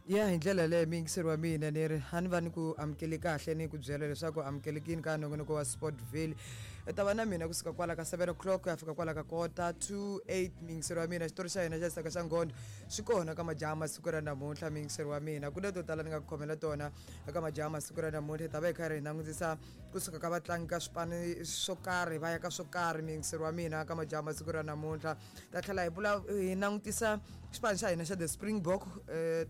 Ya, hi ndlela leyo, muyingiseri wa mina, ni ri a ni va ni ku amukeli kahle, ni ku byela leswaku amukelekini ka nongonoko wa Sportville. U ta va na mina kusuka kwala ka 7 o'clock ku ya fika kwala ka kota to 8, muyingiseri wa mina. Xitori xa hina xa Xisaka xa Nghondo xi kona ka majaha masiku ra namuntlha, muyingiseri wa mina. Ku na to tala ni nga ku khomela tona eka majaha masiku ra namuntlha. Hi ta va hi karhi hi langutisa kusuka ka vatlangi ka swipano swo karhi va ya ka swo karhi, muyingiseri wa mina, ka majaha masiku ra namuntlha. Ta tlhela hi vula hi langutisa xipano xa hina xa the Springbok,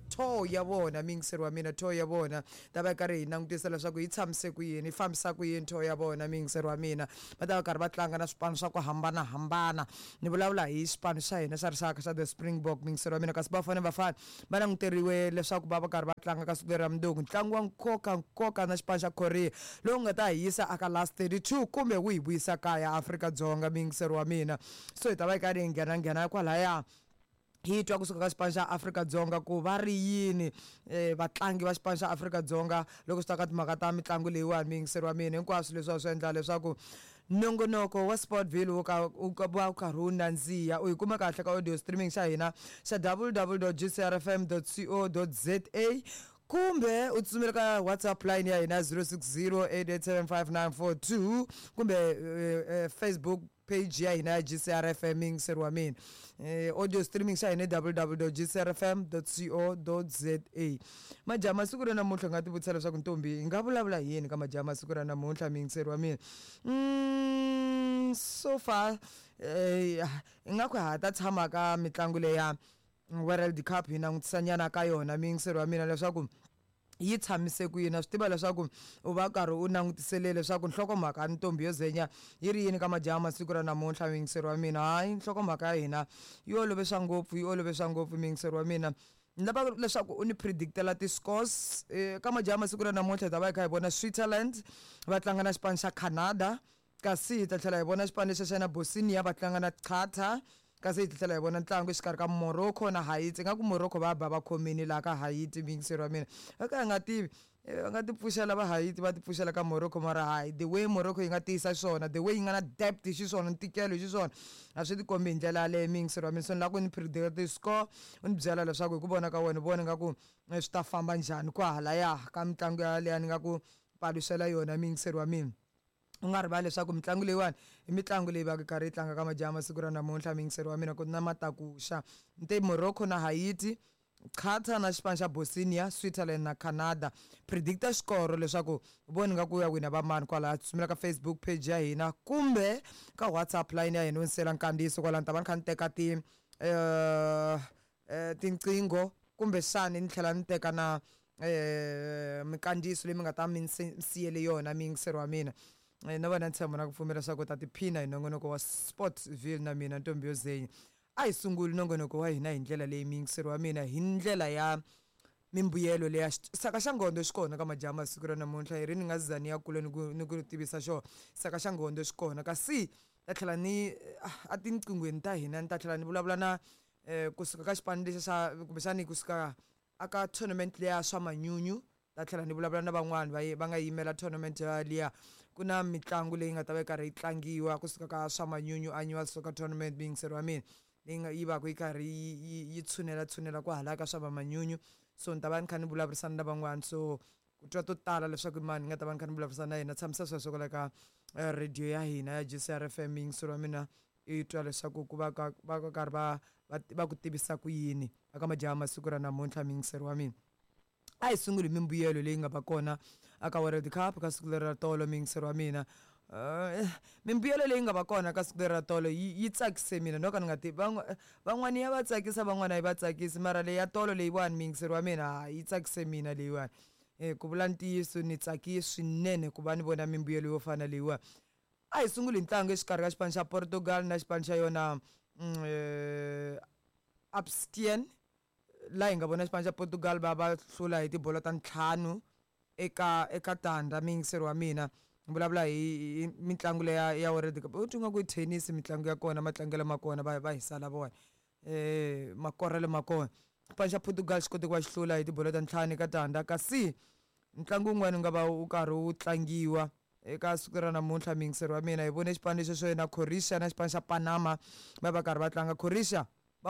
tour ya vona, muyingiseri wa mina. Tour ya vona ta va hi karhi hi langutisa leswaku yi tshamise ku yini, yi fambisa ku yini tour ya vona, muyingiseri wa mina. Va ta va karhi va tlanga na swipano swa ku hambanahambana. Ni vulavula hi xipano xa hina xa rixaka xa the Springbok, muyingiseri wa mina. Kasi Bafana Bafana va languteriwe leswaku va va karhi va tlanga ka siku leri ra mundzuku ntlangu wa nkoka nkoka na xipano xa Korea, lowu nga ta hi yisa aka last 32 kumbe wu hi vuyisa kaya Afrika-Dzonga, muyingiseri wa mina. So hi ta va hi karhi hi nghena nghena kwalaya, hi twa kusuka ka xipano xa Afrika-Dzonga ku va ri yini vatlangi va xipano xa Afrika-Dzonga loko swi ta ka timhaka ta mitlangu leyiwani, muyingiseri wa mina. Hinkwaswo leswi swi endla leswaku nongonoko wa Sportville wu ka wu ka va wu karhi wu nandziha. U yi kuma kahle ka audio streaming xa hina xa www gcrfm co za, kumbe u tsutsumela ka WhatsApp line ya hina 060 8875942, kumbe Facebook page ya hina ya GCRFM, muyingiseri wa mina. Audio streaming xa hina www gcrfm co za. Majaha masiku ra namuntlha, nga ti vutisa leswaku ntombi hi nga vulavula hi yini ka majaha masiku ra namuntlha, muyingiseri wa mina. So far ingaku ha ta tshama ka mitlangu leya World Cup, hi langutisanyana ka yona, muyingiseri wa mina, leswaku yi tshamise ku yini. A swi tiva leswaku u va karhi u langutisele leswaku nhlokomhaka ntombi yo zenya yi ri yini ka majaha masiku ra namuntlha, muyingiseri wa mina. Hayi, nhlokomhaka ya hina yi olove swa ngopfu, yi olove swa ngopfu, muyingiseri wa mina. Ni lava leswaku u ni predictela ti-scores ka majaha masiku ra namuntlha. Hi ta va hi kha hi vona Switzerland va tlanga na xipano xa Canada, kasi hi ta tlhela hi vona xipano lexi xa na Bosnia va tlanga na Qatar, kasi hi tlhela hi vona ntlangu exikarhi ka Morocco na Haiti. Ingaku Morocco va ba va khomini laha ka Haiti, muyingiseri wa mina. Va ka hi nga tivi, va nga ti pfuxela va Haiti, va ti pfuxela ka Morocco, mara hayi, the way Morocco yi nga tiyisa xiswona, the way yi nga na depth xiswona, ntikelo hi xiswona, a swi tikombi hi ndlela yaleyo, muyingiseri wa mina. So ni lava ku ni predict ti-score, u ni byela leswaku hi ku vona ka wena u vona ingaku swi ta famba njhani kwahalaya ka mitlangu yaleyo ni nga ku paluxela yona, muyingiseri wa mina. U nga rivali leswaku mitlangu leyiwani i mitlangu leyi va ka karhi yi tlanga ka majaha masiku ra namuntlha, muyingiseri wa mina, ku na matakuxa nte Morocco na Haiti, Qatar na xipano xa Bosnia, Switzerland na Canada. Predicta xikoro leswaku voni nga ku ya wina va mani kwalaya. Tsutsumela ka Facebook page ya hina kumbe ka WhatsApp line ya hina, u ni nkandziyiso kwalano. Ni ta va ni kha ni teka ti tinqingho, kumbexani ni tlhela ni teka na minkandziyiso leyi mi nga ta mi siyele yona, muyingiseri wa mina. Na wena ntshembo na ku pfumela leswaku u ta tiphina hi nongonoko wa Sportville na mina ntombi yo zenya. A hi sunguli nongonoko wa hina hi ndlela leyi, muyingiseri wa mina, hi ndlela ya mimbuyelo leya saka xa ngondo xi kona ka majaha masiku ra namuntlha. Hi ri ni nga za ni ya kule ni ku tivisa xona saka xa ngondo xi kona, kasi ta tlhela ni a tinqinghweni ta hina ni ta tlhela ni vulavula na kusuka ka xipano lexi xa kumbexani kusuka aka tournament leya swa manyunyu. Ta tlhela ni vulavula na van'wani va va nga yimela tournament liya. Ku na mitlangu leyi nga ta va yi karhi yi tlangiwa kusuka ka swa manyunyu annual soccer tournament, muyingiseri wa mina, leyi nga yi va ku yi karhi yi tshunela tshunela kwahalaya ka swa va manyunyu. So ni ta va ni kha ni vulavurisana na van'wani, so ku twa to tala leswaku i mani ni nga ta va ni kha ni vulavurisana na yena, tshamisa sweswo kwala ka radio ya hina ya GCR FM, muyingiseri wa mina, i twa leswaku ku va ka va ka karhi va ku tivisa ku yini aka majaha masiku ra namuntlha, muyingiseri wa mina. A hi sunguli hi mimbuyelo leyi nga va kona aka World Cup ka siku leri ra tolo, muyingiseri wa mina. Mimbuyelo leyi nga va kona ka siku leri ra tolo yi tsakise mina, no ka ni nga tivi van'wani ya va tsakisa, van'wani a yi va tsakisi, mara leyi ya tolo leyiwani, muyingiseri wa mina, yi tsakise mina leyiwani. Ku vula ntiyiso, ni tsakile swinene ku va ni vona mimbuyelo yo fana leyiwani. A hi sunguli hi ntlangu exikarhi ka xipano xa Portugal na xipano xa yona Abstien, laha hi nga vona xipano xa Portugal va va hlula hi tibolo ta ntlhanu eka tandza, muyingiseri wa mina. Ni vulavula hi mitlangu leya ya World Cup, u twa nga ku i tennis mitlangu ya kona, matlangelo ma kona va hi sala vona makorelo ma kona. Xipano xa Portugal xi kote ku va xi hlula hi tibolo ta ntlhanu eka tandza. Kasi ntlangu wun'wani wu nga va wu karhi wu tlangiwa eka siku ra namuntlha, muyingiseri wa mina, hi vone xipano lexi xo yena Croatia na xipano xa Panama va va karhi va tlanga. Croatia